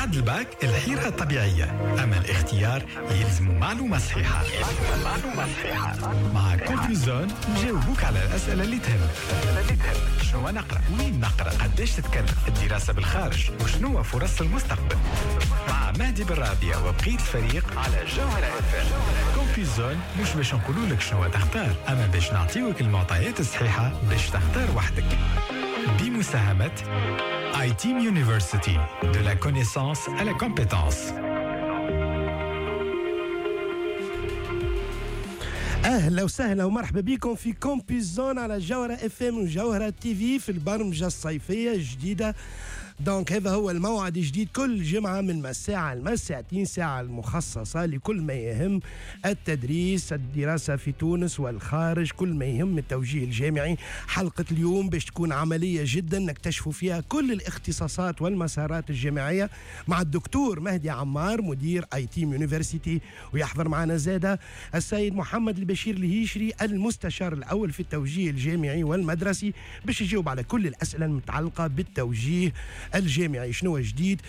بعد الباك الحيرة الطبيعية، أما الاختيار يلزم معلومة صحيحة. معلومة صحيحة مع Campus Zone، نجاوبوك على الأسئلة اللي تهمك. شنو نقرأ؟ وين نقرأ؟ قداش تتكلف الدراسة بالخارج؟ وشنو فرص المستقبل؟ مع مهدي بالراضية وبقية الفريق على جوهرة اف ام. Campus Zone مش باش نقولوا لك شنو تختار، أما باش نعطيوك المعطيات الصحيحة باش تختار وحدك. بمساهمة ITEAM University, de la connaissance à la compétence. اهلا وسهلا ومرحبا بكم في Campus Zone على جوهرة اف ام وجوهرة تي في في البرمجة الصيفية الجديدة. donc هذا هو الموعد الجديد كل جمعة من مساعة لمساعتين، ساعة المخصصة لكل ما يهم التدريس، الدراسة في تونس والخارج، كل ما يهم التوجيه الجامعي. حلقة اليوم باش تكون عملية جدا، نكتشف فيها كل الاختصاصات والمسارات الجامعية مع الدكتور مهدي عمار مدير ITEAM University، ويحضر معنا زادة السيد محمد البشير الهيشري المستشار الأول في التوجيه الجامعي والمدرسي باش يجاوب على كل الأسئلة المتعلقة بالتوجيه الجامعي. شنو جديد؟